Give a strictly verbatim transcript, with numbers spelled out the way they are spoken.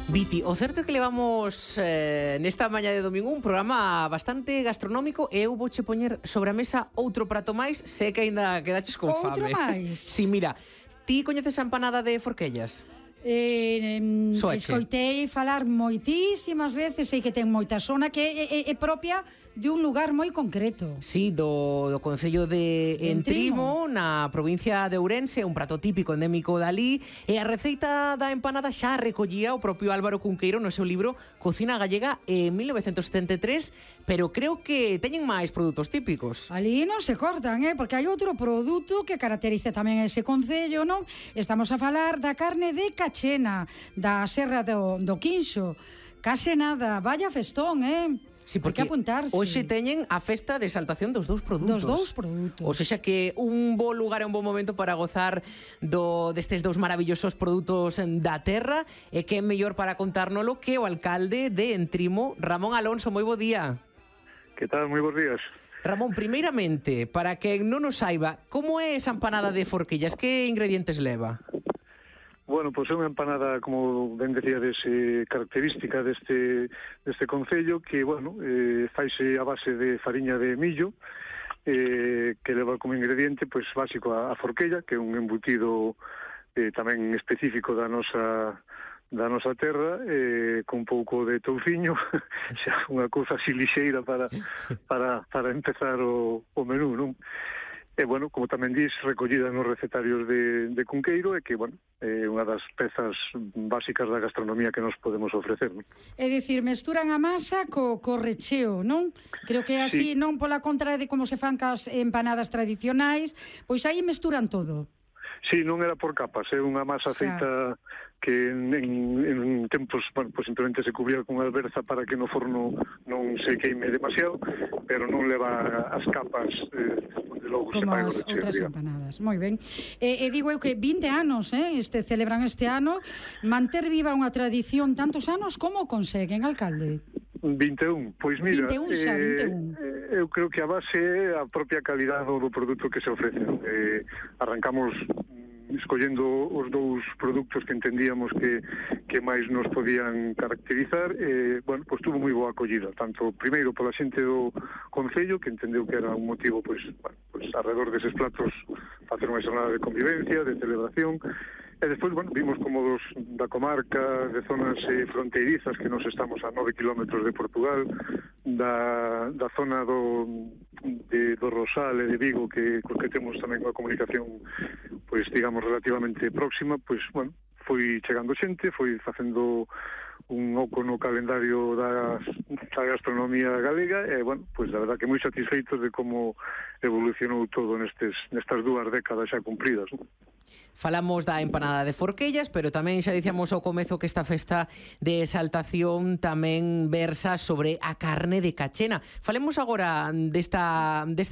Viti, o certo é que levamos eh, nesta mañá de domingo un programa bastante gastronómico e eu vouche poñer sobre a mesa outro prato máis, sei que aínda quedaches con fame. Outro máis? Si, mira, ti coñeces a empanada de Forquellas? Eh, em, Soache. escoitei falar moitísimas veces, sei que ten moita zona que é, é, é propia de un lugar moi concreto. Sí, do, do Concello de Entrimo, na provincia de Ourense, un prato típico endémico dali, e a receita da empanada xa recollía o propio Álvaro Cunqueiro no seu libro Cocina Gallega en mil novecentos setenta e tres, pero creo que teñen máis produtos típicos. Ali non se cortan, eh? Porque hai outro produto que caracteriza tamén ese concello, non? Estamos a falar da carne de cachena, da Serra do, do Quinxo. Case nada, vaya festón, eh? Sí, porque hai que apuntarse. Hoxe teñen a festa de exaltación dos dous produtos. Dos dous produtos. O sexa que un bo lugar e un bo momento para gozar do destes dous maravillosos produtos da terra, e que é mellor para contárnolo que o alcalde de Entrimo, Ramón Alonso. Moi bo día. Que tal? Moi bons días. Ramón, primeiramente, para quen non o saiba, como é esa empanada de Forquillas? Que ingredientes leva? Bueno, pois é unha empanada, como ben decíades, eh, característica deste, deste concello, que, bueno, eh, faise a base de fariña de millo, eh, que leva como ingrediente, pois, básico a, a forquella, que é un embutido eh, tamén específico da nosa da nosa terra, eh, con pouco de touciño, xa unha cousa así lixeira para, para, para empezar o, o menú, non? E, bueno, como tamén dis, recollida nos recetarios de, de Cunqueiro, e que, bueno, é unha das pezas básicas da gastronomía que nos podemos ofrecer, non? É dicir, mesturan a masa co, co recheo, non? Creo que é así, Sí. non pola contra de como se fan cas empanadas tradicionais, pois aí mesturan todo. Sí, non era por capas, é unha masa Xa. feita que en, en, en tempos, bueno, pues simplemente se cubría con alberza para que no forno non se queime demasiado, pero non leva as capas eh, onde logo se Como fai o as recheo, outras digamos. empanadas. Moi ben. E, e digo eu que vinte anos, eh, este celebran este ano, manter viva unha tradición tantos anos, como o conseguen, alcalde? vinte e un, pois mira, vinte e un xa, vinte e un. eh, eu creo que a base é a propia calidade do produto que se ofrece. Eh, arrancamos escollendo os dous produtos que entendíamos que, que máis nos podían caracterizar, e, bueno, pois tuvo moi boa acollida, tanto primeiro pola xente do Concello, que entendeu que era un motivo, pois, bueno, pois alrededor deses platos facer unha xornada de convivencia, de celebración, e despois, bueno, vimos como dos da comarca, de zonas eh, fronteirizas, que nos estamos a nove kilómetros de Portugal, da, da zona do, de, do Rosal e de Vigo, que, que temos tamén unha comunicación, pois, digamos, relativamente próxima, pois, bueno, foi chegando xente, foi facendo un oco no calendario da, da gastronomía galega, e, bueno, pois, a verdad que moi satisfeitos de como evolucionou todo nestes, nestas dúas décadas xa cumpridas, non? Falamos da empanada de Forquellas, pero tamén xa dicíamos ao comezo que esta festa de exaltación tamén versa sobre a carne de cachena. Falemos agora desta, desta